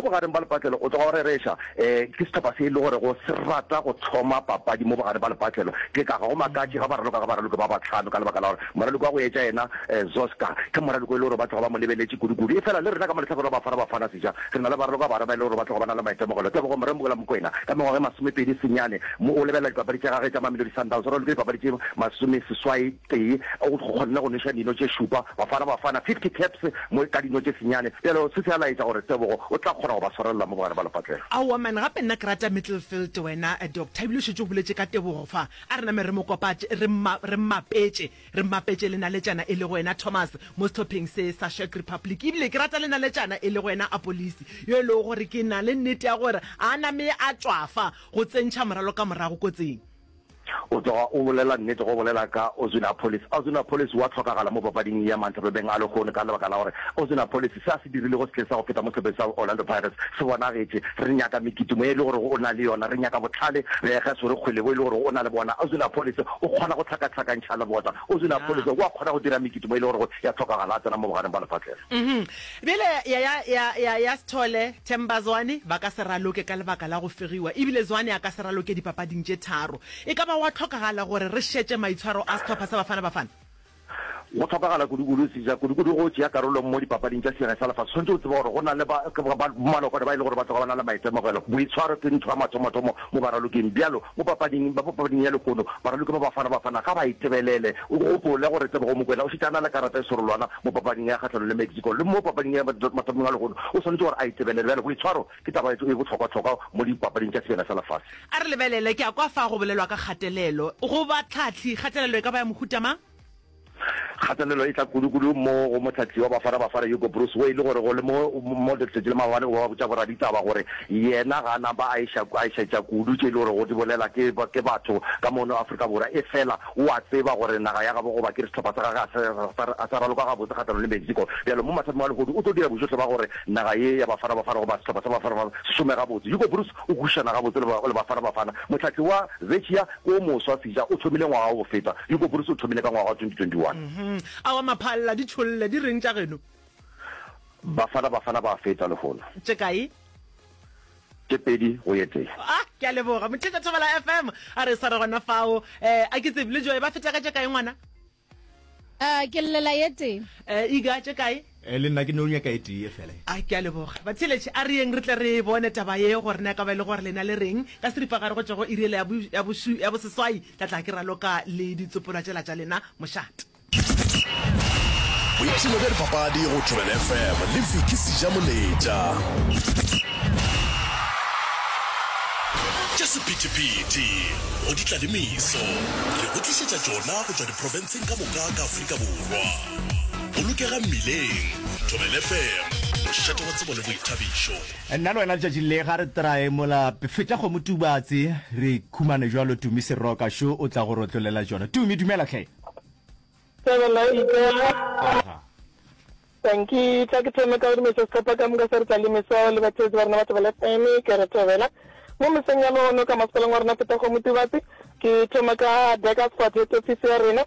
bogareng ba lepatlelo o tloga o rereša, um ke sehlopha se e le gorego se rata go thoma papadi mo bogareng ba lepatlelo. Ke ka ga go makatše ga ba raloka ga baraloki ba bahlano ka lebaka la gore moraloki wa go etša yena Zoska ke moraloki o e le gore ba tloga ba mo lebeletše kudu-kudu. Efela le rena ka mo lehlakoreng la Bafana Bafana seja re na le baraloka ba ba e le gore ba tloga ba na le maitemogelo. Tebogo Moremogela Mokoena ka mengwaga e masomepedi senyane mo o lebelela dipapadi tša gagwe tša Mamelodi Sundowns o ralokile dipapadi tše masomeseswai tee o kgonne go nweša dino tše šupa Bafana Bafana 50 caps mo ka dino tše senyane. Bjalo se se a laetša gore Tebogo o tla kgona go ba swarelela mo bogare ba lepatlelo. Aowa man, gape nna ke rata Middlefield wena Doctor, ebile o šetše o boletše ka Tebogo fa. A re name re mo kopatše, re re mmapetše, re mmapetše le naletšana e lego yena Thomas mo sehlopheng se sa Czech Republic. Ebile ke rata le naletšana e lego yena Apolisi, yo e lego gore ke na le nnete ya gore a name a tšwafa go tsentšha moralo ka morago kotsing. O tloga o bolela nnete go bolela ka Oswin Appollis. Oswin Appollis o a hlokagala mo papading ya mantlapebeng a lehono ka lebaka la gore Oswin Appollis se a se dirilego sehleng sa go feta mo sehlopheng sa Orlando Pirates se bonagetše. Re nyaka mekitimo ye e le gore o na le yona, re nyaka bohlale ge a swere kgwele bo e le gore o na le bona. Oswin Appollis o kgona go hlakahlakantšha lebota. Oswin Appollis o a kgona go dira mekitimo e le gore ya hlokagala a tsena mo bogareng ba lepatlelo. Bjale ya, ya, ya, ya, ya Sithole, Themba Zwane ba ka se raloke ka lebaka la go fegiwa, ebile Zwane a ka se raloke dipapading tše tharo. E ka ba gwa hlokagala gore re šetše maitshwaro a sehlopha sa Bafana Bafana? Go hlokagala kudu-kudu, Seja, kudu-kudu go tšea karolo mo dipapading tša Sejana sa Lefase. Swanetše go tseba gore go na le ba, ba, bomalokwane ba e le gore ba tloga ba na le maitemogelo. Boitshwaro ke ntho ya mathomothomo mo baraloking. Bjalo, mo papading, ba papading ya lehono, baraloki ba Bafana Bafana ga ba itebelele. O gopole gore Tebogo Mokoena o šetše a na le karata e serolwana mo papading ya kgahlanong le Mexico, le mo papading ya mathomong a lehono o swanetše gore a itebelele. Bjale boitshwaro ke taba e bohlokwahlokwa mo dipapading tša Sebjana sa Lefase. A re lebelele, ke a kwa fa go bolelwa ka kgatelelo. Go batlhahli, kgatelelo e ka ba ya mohuta mang? Kgatelelo e tla kudu-kudu mo go mohlahli wa Bafana Bafana Hugo Broos wo e le gore go le mo mo letšatši le maabane o ba botša boraditaba gore yena ga a napa a iša a išetša kudu tše e le gore go di bolela ke ke batho ka mono Afrika Borwa efela o a tseba gore naga ya gabo goba ke re sehlopha sa gagwe ga se a sa raloka gabotse kgahlanong le Mexico bjalo mo mathateng a lehodu o tlo dira bojohle ba gore naga ye ya Bafana Bafana goba sehlopha sa Bafana Bafana se šome gabotse. Hugo Broos o kwešišana gabotse le le Bafana Bafana. Mohlahli wa Czechia ke o moswa Seja o thomile ngwaga wa go feta. Hugo Broos o thomile ka ngwaga wa 2021. Aowa Maphalla, di tšholle, di reng tša geno? Bafana Bafana ba feta lehono. Tše kae? Tše pedi go ye tee. Ah, ke a leboga. Motheetša Thobela FM, a re sware gona fao. Eh, a ke tsebe, le Joy ba feta ka tše kae ngwana? Ah, ke llela ye tee. Eh, Iga, tše kae? Eh, le nna ke no nyaka e tee fela. A ke a leboga. Batheeletši, a re yeng re tle re bone taba ye gore na e ka ba e le gore lena le reng. Ka seripagare go tšwa go iri yela ya bo, ya bošu, ya boseswai, tla tla ke raloka le ditsopolwa tšela tša lena mošate. Boipshino bja dipapadi go Thobela FM le Vicky Sejamoletša. Tša sephethephethe go di tla le meso, re go tlišetša tšona go tšwa diprofenseng ka moka ka Afrika Borwa. Bolokega mmileng, Thobela FM, mošate wa tsebo le boithabišo. Nna le wena letšatši le ga re trae mola fetša kgomo Tubatse re khumane jwalo Tumi Seroka šo o tla go rotlolela tšona. Tumi dumela hle. Thobela Ikela. Aha. Dankie. Tla ke thome ka go dumediša sehlopha ka moka sa re tla le meso le batheetši ba rena ba Thobela FM. Ke re thobela mo mesong ya lehono ka masepaleng wa rena Fetakgomo Tubatse. Ke thoma ka Burgersfort head office ya rena.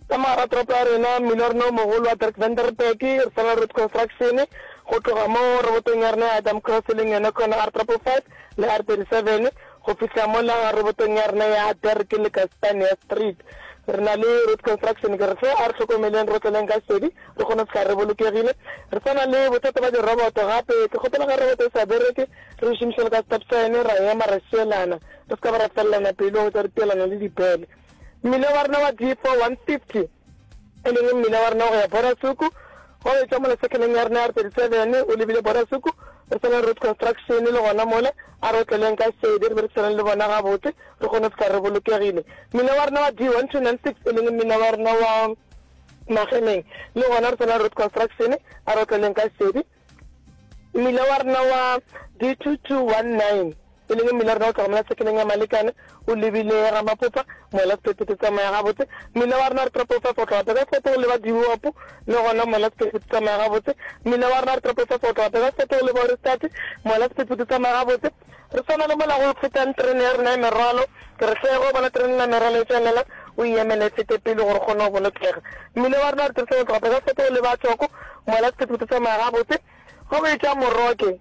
Ka mogara toropo ya rena, mmila wa rena o mogolo wa Dirk Vanderberg, re sa na le road construction go tloga mo robotong ya rena ya Adam Cross e leng yona khona R triple 5 le R 37 go fihla mola robotong ya rena ya Dirk le Kastania Street. Re na le road construction, ke re hle a re hlokomeleng, re otleleng ka šedi, re kgone go fihla re bolokegile. Re sa na le bothata ba diroboto gape, ke kgopela ge roboto e sa bereke, re e šomiše le ka stop sign, ra ema ra šielana, re se ka ba ra felelana pelo go tša re tielana le dipele. Mmila wa rena wa D4 150, e leng mmila wa rena wa go ya Borasuku, wa go etšwa mola sekeleng ya rena ya R37 o lebile Borasuku, re sa na le road construction le gona mola, a re otleleng ka šedi re berekisaneng le bona gabotse re kgone go fihla re bolokegile. Mmila wa rena wa D1296, e leng mmila wa rena wa Magemeng, le gona re sa na le road construction, a re otleleng ka šedi. Mmila wa rena wa D2219, e leng mmila wa rena o tloga mola sekeleng ya Malekane o lebile Gamapopa, mola sephethephethe tsamaya gabotse. Mmila wa rena wa Triple Five o tloga Burgersfort go leba Diopo, le gona mola sephethephethe tsamaya gabotse. Mmila wa rena wa Triple Five o tloga Burgersfort go leba Ohrigstad, mola sephethephethe tsamaya gabotse. Re swana le mola go fetang terene ya rena ya merwalo. Ke re hle, ge o bona terene ya merwalo e tšwelela, o e emele e fete pele gore o kgone go bolokega. Mmila wa rena wa re dirisang go tloga Burgersfort go leba Tšoko, mola sephethephethe tsamaya gabotse. Ge o etšwa Moroke.